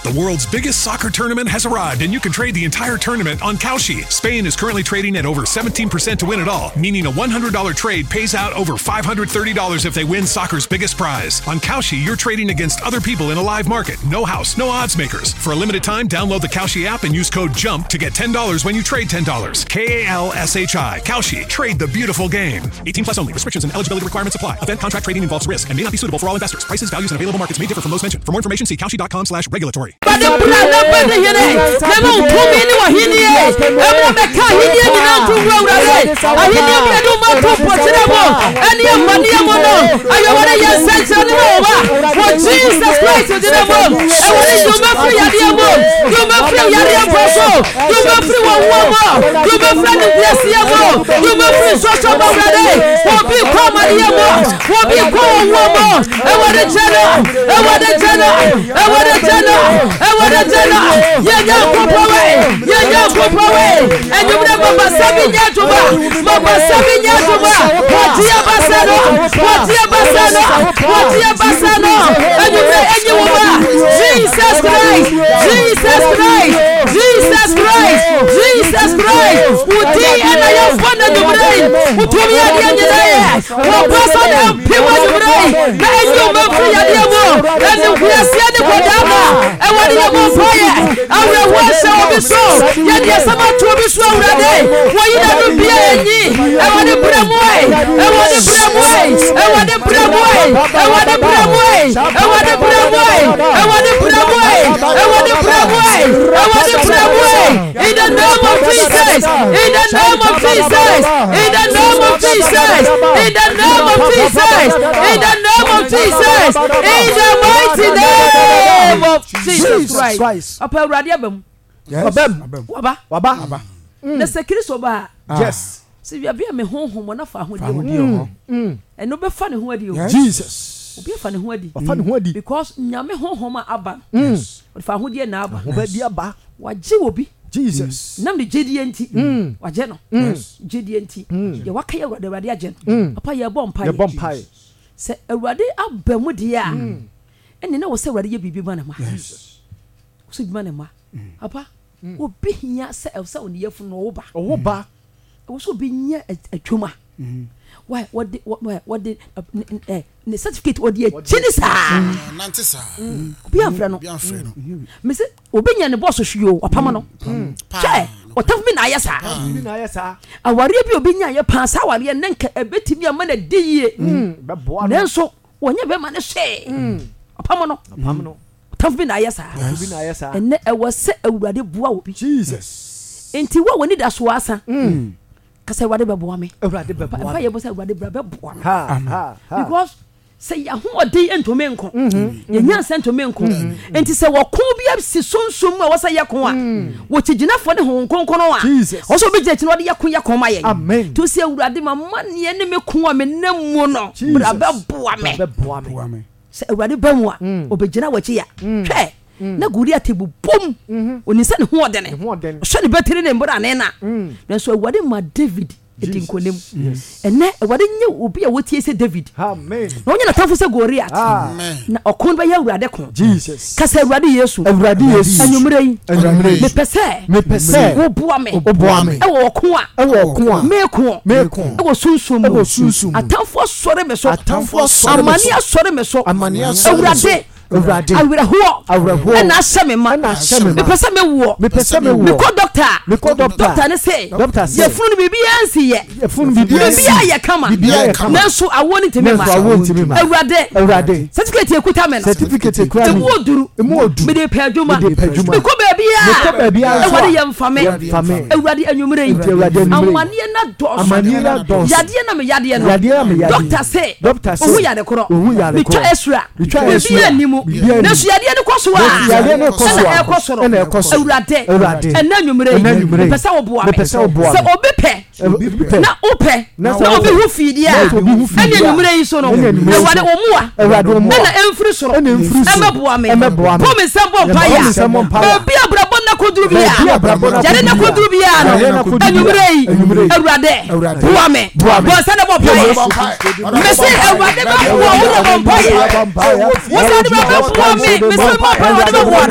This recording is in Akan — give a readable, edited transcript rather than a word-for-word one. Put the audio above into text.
The world's biggest soccer tournament has arrived, and you can trade the entire tournament on Kalshi. Spain is currently trading at over 17% to win it all, meaning a $100 trade pays out over $530 if they win soccer's biggest prize. On Kalshi, you're trading against other people in a live market. No house, no odds makers. For a limited time, download the Kalshi app and use code JUMP to get $10 when you trade $10. K A L S H I. Kalshi. Trade the beautiful game. 18 plus only. Restrictions and eligibility requirements apply. Event contract trading involves risk and may not be suitable for all investors. Prices, values, and available markets may differ from those mentioned. For more information, see Kalshi.com slash regulatory. Awurade bra na bɛdi hene na ma wo tumi ne w'ahennie mmra mmɛka ahennie nyinaa nto ngu Awurade ahennie mu yɛde wo ma to mpɔkyerɛ mu ɛne amanneɛ mu no ayɛwɔde yɛ nsɛnkyerɛnne ma wo ba wɔ Jesus Christ gyina mu ɛwɔde yi wo mɛfiri yadeɛ mu yi wo mɛfiri yadeɛ mpo so yi wo mɛfiri wɔn wuo mu yi wo mɛfiri animguaseɛ mu yi wo mɛfiri nsɔsɔ mu Awurade wɔbi kɔ amaneɛ mu wɔbi kɔ wɔn wuo mu ɛwɔde kyɛ no ɛwɔde kyɛ no Awurade gye no, Awurade gye no, yɛ Nyankopɔn wei, yɛ Nyankopɔn wei. Enyimire mabasa bi nyɛ adwuma, mabasa bi nyɛ adwuma. Wɔgye abasa no, wɔgye abasa no, wɔgye abasa no. Enyimire enyi wo ma. Jesus Christ, Jesus Christ, Jesus Christ, Jesus Christ. Wodi ɛna yɛ bɔ na enyimire yi, wotumi adeɛ nyinaa yɛ. Wɔbasa na mpem anwummerɛ yi na ɛnyi wo mfiri yadeɛ mu animguaseɛ ne kɔdaa ma ɛwɔde yɛ bɔ mpaeɛ awerɛhoɔ ahyɛ obi so yɛde asɛm ato obi so awurade wɔyi na no bia ɛnyi ɛwɔde brɛ mu ɛ ɛwɔde brɛ mu ɛ ɛwɔde brɛ mu ɛ ɛwɔde brɛ mu ɛ ɛwɔde brɛ mu ɛ ɛwɔde brɛ mu ɛ ɛwɔde brɛ mu ɛ ɛwɔde brɛ mu ɛ In the name of Jesus. In the name of Jesus. In the name of Jesus. In the name of Jesus. In the name of Jesus. In the mighty name of Jesus Christ. Papa Awurade aba mu. Wabam. Waba. Waba. Na sɛ Kristo ba a. Yes. Sɛ wiabe a me honhom wɔ na fa ahodeɛ wɔ. Ɛno bɛfa ne ho adi o. Jesus. Obi afa ne ho adi. Wafa ne ho adi. Because Nyame honhom a aba no. Ɔde fa ahodeɛ na aba. Ahobadi aba. Wagye obi. Jesus. Nam ne gyedie nti. Wagye no. Gyedie nti. Deɛ waka yɛ Awurade, Awurade agye no. Papa yɛbɔ mpaeɛ. Yɛbɔ mpaeɛ. Sɛ Awurade aba mu deɛ a, ɛnneɛ na wɔ sɛ Awurade yɛ biribi ma ne mma. Wɔ sɛ biribi ma ne mma. Papa, obi hia sɛ ɛwɔ sɛ ɔne yafunu no ɔwo ba. Ɔwo ba. Ɛwɔ sɛ obi nya adwuma. Why wɔde wɔde ɛ ne certificate wɔde akyi ne saa. Nante saa. Obi anfrɛ no. Obi anfrɛ no. Mese obi nya ne bɔs hwee o wapam no. Hwɛ ɔtafo bi na ayɛ saa. Bi na ayɛ saa. Awareɛ bi obi nya yɛ paa saa awareɛ ne nka ɛbɛtumi ama no adi yie. Bɛboa no. Nanso wɔnyɛ bɛrima no hwee. Ɔpam no. Ɔpam no. Ɔtamfo bi na ayɛ saa. Ɔtamfo bi na ayɛ saa. Ɛnnɛ ɛwɔ sɛ Awurade boa obi. Jesus. Nti wo a w'ani da so asa. Mm. Ka sɛ Awurade bɛboa me. Awurade bɛboa me. Mpa yɛ bɔ sɛ Awurade bra bɛboa me. Ha ha ha. Because sɛ yɛahoɔden ntumi nko. Mm-hmm. Yɛn nyansa ntumi nko. Mm-hmm. Nti sɛ wɔko bi asi sunsum mu a wɔsɛ yɛko a, mm. wɔkyigyinafoɔ ne Honhom Kronkron a, ɔsɛ obi gyina akyi na ɔde yɛko yɛko ma yɛn. Amen. Nti sɛ Awurade ma maneɛ ne me ko a menam mu no, bra bɛboa me. Bra bɛboa me. Sɛ Awurade ba mu a, ɔbɛgyina w'akyi a, hwɛ, na Goliat bobom. Ɔnim sɛ ne ho ɔdene. Ɔhyɛ ne batiri ne mbrane no a. Nanso Awurade ma David di nkonim. Ɛnnɛ, Awurade nyɛ obi a wotie sɛ David. Na ɔnyɛ n'atamfo sɛ Goliat. Na ɔko no bɛyɛ Awurade ko. Ka sɛ, Awurade Yesu, anwummerɛ yi, mepɛ sɛ woboa me wɔ ɔko a meko wɔ sunsum mu. Atamfo asɔre me so. Amane asɔre me so. Awurade, awerɛhoɔ ɛna ahyɛ me ma. Mepɛ sɛ mewoɔ. Mekɔ dɔkta a, dɔkta no se, yafunu no biribiara nsi yɛ. Biribiara yɛ kama. Nanso awoɔ no ntumi mma. Awurade, certificate ekuta me no, emu oduru. Mede pɛ adwuma. Mekɔ baabiara. Awurade yɛ mfa me. Awurade anwummerɛ yi, amaneɛ no adɔɔso. Yadeɛ na me yadeɛ no. Dɔkta se, ohu yare korɔ. Metwa esra. Biribiara nni mu. Nanso yadeɛ no kɔ so a, ɛna ɛkɔ soro. Awurade, ɛnɛ anwummerɛ yi, mepɛ sɛ woboa me. Sɛ obi pɛ na wopɛ na obi ho fii deɛ a, ɛne anwummerɛ yi so no, Awurade wo mmoa ɛna ɛmfiri soro ɛmɛboa me. Bɔ me nsam bɔ mpaeɛ a, baabi a abrabɔ nna kɔduru biara, yare nna kɔduru biara no, anwummerɛ yi, Awurade boa me. Bɔ nsa na bɔ mpaeɛ. Mese Awurade bɛboa wo na bɔ mpaeɛ. Wo sɛ Awurade bɛboa me, mese bɔ mpaeɛ Awurade bɛboa no.